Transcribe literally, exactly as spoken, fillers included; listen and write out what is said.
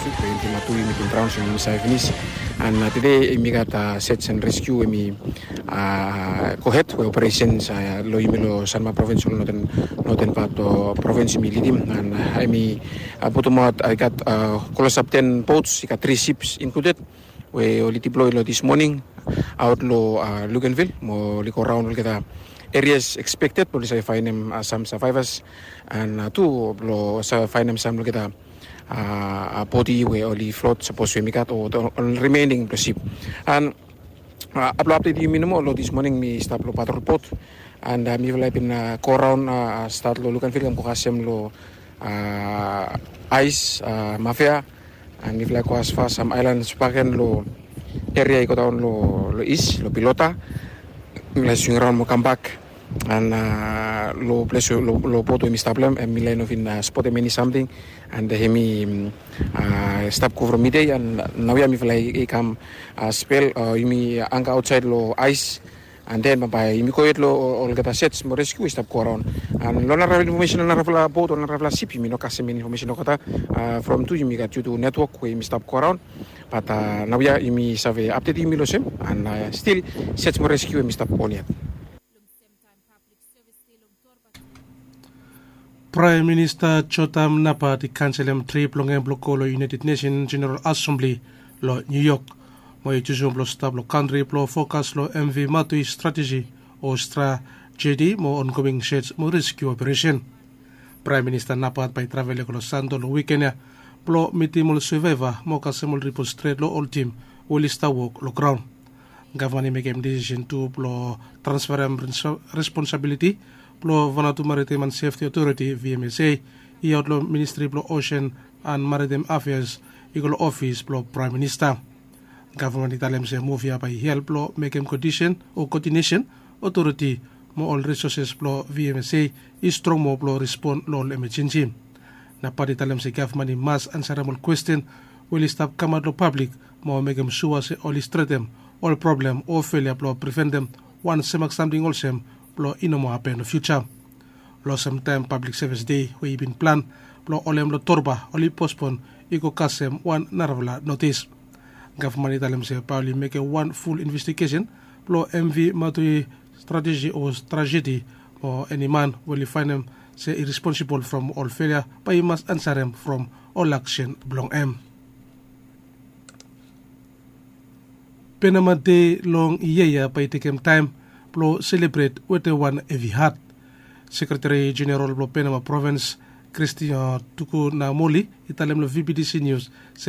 Yumi bin draon so yumi save finis. An tede yumi gat search and rescue we yumi gohed we operation long yumi long Sanma provins, long noten pat provins yumi lidim. An yumi putumaot, i gat klosap ten boats, i gat tri sips inkluded, we oli diploi long dis moning aot long Luganville mo oli go raon olgeta areas expected blong oli save faenem sam survivors, an tu blong save faenem sam long olgeta bodi we oli flot sapos we yumi gat o ol remaining blong sip. An blong update yumi nomo, long dis moning mi stap long patrol bot, an mifala i bin go raon stat long Luganville kam go kasem long Ais, Mafia, an mifala i go asfa sam aelan Spaken long eria i go daon long is long Pilota. Mifala i swing raon mo kambak, an long ples long bot we mi stap long hem, mifala i no bin spotem eni samting, an hemi stap go from midei, an naoia mifala i kam spel yumi anga aotsaed long Ais. An den bambae yumi go hed long olgeta search mo rescue we i stap go raon. An long narafala infomesen, long narafala bot o narafala sip, yumi no kasem eni infomesen olgeta. From tu yumi gat YouTube network we yumi stap go raon. Bat naoia yumi save update yumi long sem, an stil search mo rescue we yumi stap on yet. Praem Minista Jotam Napat i kanselem trip blong hem blong go long United Nation Jeneral Asembli long Niu Yok, mo i jusum blong stap long kantri blong fokas long M V Matui strateji o strajedi mo ongoing search mo reskiu operesen. Praem Minista Napat bae i travel i go long Santo long wiken ya blong mitim ol survaeva mo kasem ol ripot stret long ol tim we oli stap wok long graon. Gavman i mekem disisen tu blong transferem responsabiliti blong Vanuatu Maritime and Sefti Otoriti, V M S A, i aot long Ministri blong Osen and Maritime Afeas i go long ofis blong Praem Minista. Gavman i talem se muv ya bae i help blong mekem kodinesen o kodinesen otoriti mo ol risoses blong V M S A i strong moa blong respon long ol emejensi. Napat i talem se gavman i mas ansarem ol kwesten we oli stap kamaot long pablik mo mekem sua se oli stretem ol problem o felia blong priventem wan semak samting olsem blong i no moa hapen long fiuja. Long olsem taem Pablik Sevis Dei we i bin plan blong holem long Torba oli pospon i go kasem wan narafala notis. Gavman i talem se bae oli mekem wan ful investigesen blong M V Matui strateji o trajedi mo eni man we oli faenem se i responsibol from ol felia bae i mas ansarem from ol aksen blong hem. Penama Dei long yia ya bae i tekem taem blong selebret wetem wan hevi hat. Sekreteri Jeneral blong Penama Provins, Kristina Tukunamoli, i talem long V B T C Nius se